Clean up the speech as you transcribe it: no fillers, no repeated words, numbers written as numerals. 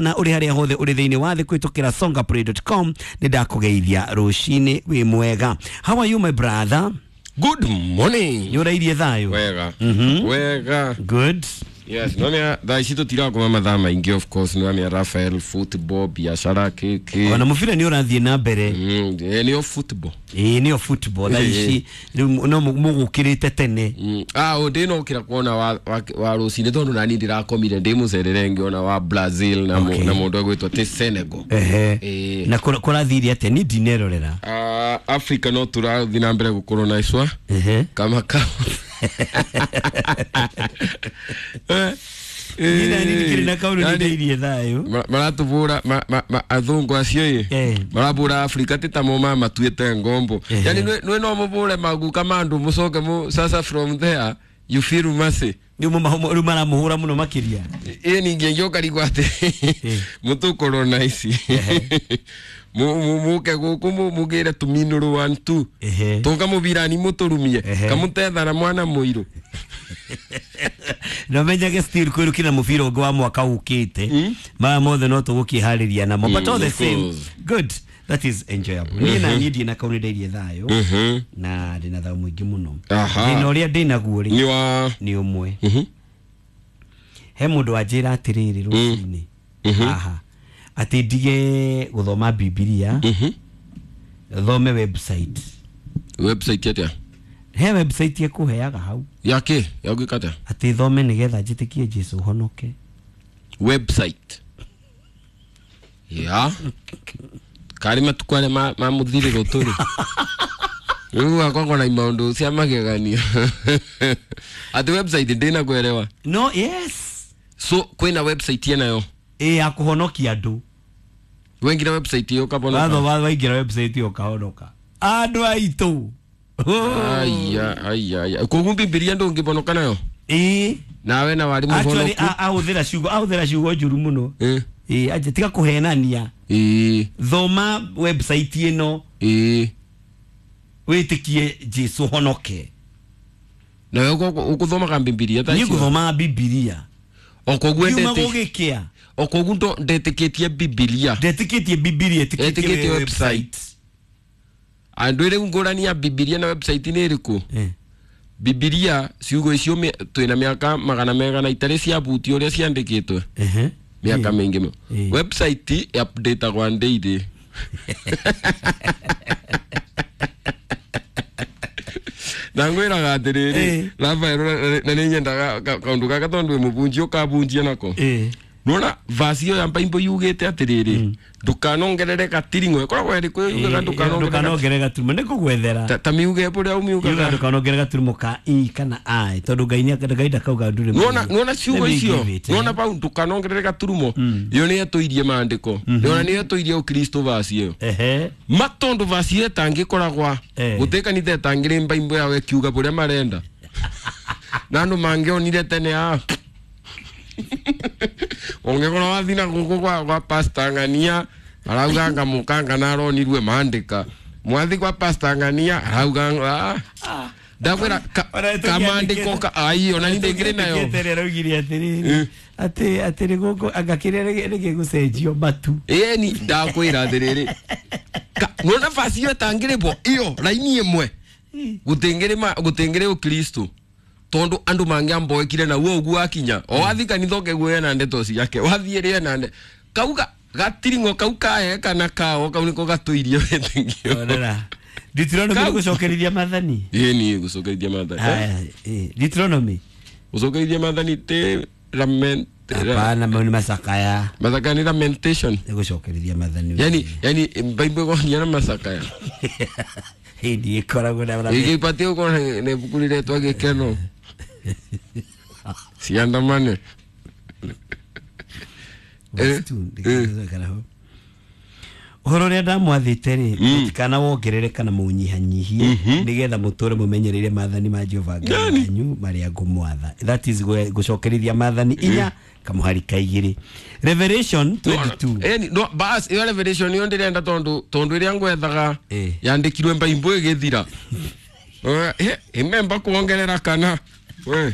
Na uri haria hothe uri thiini wa thi kwitukira songaplay.com ni ndakugeithia rucini wi mwega. How are you, my brother? Good morning. Ni urairie thayo? Wega. Wega. Good. Yes, none thaa ici tũtirakoma mathaa maingĩ, of course nĩ Rafael, football, biashara kĩkĩ. Ona mũbira nĩ ũrathiĩ na mbere. Nĩyo football. Ĩĩ, nĩyo football thaa ici rĩu no mũgũkĩrĩte tene. Ah, o ndĩnokĩra kuona wa rũcinĩ tondũ nani ndĩrakomire ndĩ mũcerere ngĩona wa Brazil na na mũndũ egwĩtwo ti Senegal. Ehe. Ĩĩ. Na kũrathire atĩa? Ni ndinerorera. Ah, Africa no tũrathiĩ na mbere gũkorwo na icwa Ehe. kama kama. Niĩ nani ndikĩrĩ na kaũndũ, Yani, nindairie thayũ. Maratũbũra athũngũ acio ĩ marabũra Afrika ti tamo mamatuĩte ngombo. Yani nĩ no mũbũre maguka ma andũ mũcoke sasa from there you feel mercy. Rĩu rĩu maramũhũra mũno makĩria. Ĩ ningĩ ngĩũka atĩ mũtũkorwo na ici mũke gũkũ mũgĩre tũminũrũ one two tũngamũbirani mũtũrumie kamũtethara mwana mũirũ. Na menyage still kwĩrukĩra mũbira ũngĩ wa mwaka ũkĩte, maya mothe no tũgũkĩharĩria namo, but all the Of same course. good, that is enjoyable. Niĩ na niĩ ndirĩ na kaũndũ, ndairie thayũ na ndĩna thayũ mũingĩ mũno. Thĩna ũrĩa ndĩnaguo rĩ Nĩ wa nĩ ũmwe. He mũndũ wanjĩra atĩrĩrĩ rũcinĩ haha atĩ ndige gũthoma Bibilia, thome website. Website atĩa? He website ĩkũheaga hau. Yake ya gwĩka atĩa? Atĩ thome nĩgetha njĩtĩkie Jesũ honoke. Website ya karĩ matukũ arĩa ma mũthirĩro tũrĩ rĩu akoragwo na maũndũ cia mageganio atĩ website ndĩna kwerewa. No, yes. So kwĩna website yenayo? Ĩ, ya kũhonokia andũ. Wengire website ĩyo ũkabona? Watho waingĩra website ĩyo ũkahonoka andũ aitũ. Aya aya aya, koguo Bibilia ndũngĩbonoka nayo? Ĩ. Nawe na warĩ Actually, mũhonoku. ahũthĩra ciugo njũru mũno. Ĩ, anje tiga kũhenania. Thoma website ĩno, wĩtĩkie Jesũ honoke. Nawe ũgũthomaga Bibilia thaa Niĩ icio? ngũthomaga Bibilia. O koguo Kiuma ndetĩ gũgĩkĩa. O koguo ndetĩkĩtie Bibilia. Ndetĩkĩtie Bibilia, Etĩkĩtie ĩtĩkĩtie website. Andũ rĩu ngũrani ya Bibilia na website nĩ ĩrĩkũ? Bibilia ciugo icio twĩna mĩaka magana megana itarĩ ciabutio ũrĩa ciandĩkĩtwe, mĩaka mĩingĩ mũno. Website updateagwa daily na ngwĩraga atĩrĩrĩ, Rafael, na nĩ nyendaga kaũndũ gaka tondũ wĩ mũbunji ũkabunjia nako. Nona vasi ĩyo ya Bible yugĩte atĩrĩrĩ, ndũkanongerere gatiring'o, ĩkoragwo ĩrĩkũ yugaga ndũkanongerere? Ndũkanongerere gaturumo, nĩ ngũgwethera. Ta miuge ũrĩa Yuga ũmiugaga. Ndũkanongerere gaturumo ka i kana i, tondũ Ngai Ngai ndakauga ndũrĩ. Nona ciugo icio, nona pau ndũkanongerere gaturumo, ĩyo nĩ ĩtũirie maandĩko, nona nĩ ĩtũirie ũkristo vasi ĩyo. Ma tondũ vasi ĩyo ĩtangĩkoragwa gũtĩ kanitha ĩtangĩrĩ mbaimbo yao ĩkiuga bũrĩa marenda na andũ mangĩonire tene a ũngĩkorwo wathi na gũkũ kwa pastor Ng'ania arauga anga mũkanga na aronirwe maandĩka, mwathi kwa pastor Ng'ania arauga ah. Ndakwĩra Ona kamandĩko ka ai ona ni ndĩngĩrĩ nayo. Tũngĩandĩkĩte araugire atĩrĩrĩ atĩ nĩ gũkũ anga kĩrĩa nĩgĩgũcenjio matu. Ĩni ndakwĩra atĩrĩrĩ, nona basi ĩyo ĩtangĩrĩbwo ĩyo raini ĩmwe gũtingĩrĩ gũtingĩrĩ ũkristo tondũ andũ mangĩamboekire na uo ũguo akinya o wathi kanitha ũkeguo ena ndeto ciake wathiĩ rĩ ena kauga gatiring'o kau kae kana kao kau nĩko gatũirie wĩtĩkio. Onera Deuteronomy. Kau. Nĩ gũcokerithia maathani. Ĩni gũcokerithia maathani. Aya, ĩ, Deuteronomy. Gũcokerithia maathani ti lament? Hapana, mau nĩ macakaya. Macakaya nĩ lamentation. Nĩ gũcokerithia maathani. Yani Bible ĩgonia na macakaya? Hĩndĩ ĩkoragwo na Igĩbatie gũkorwo nĩ ibuku rĩretwo gĩkeno ciandamane. Verse 2, ndikana ho. Ũhoro ũrĩa ndamwathĩte rĩ, mũtikana wongerere kana mũũnyihanyihie, nĩgetha mũtũre mũmenyereire maathani ma Jehova Ngai wanyu marĩa ngũmwatha. That is gũcokerithia maathani 4 kamũhari ka 2, Revelation 22. Eni no bas ĩyo Revelation ĩyo ndĩrenda tondũ ĩrĩa ngwethaga yandĩkirwe mbaimbo ĩgĩthira. Imemba kuongerera kana we.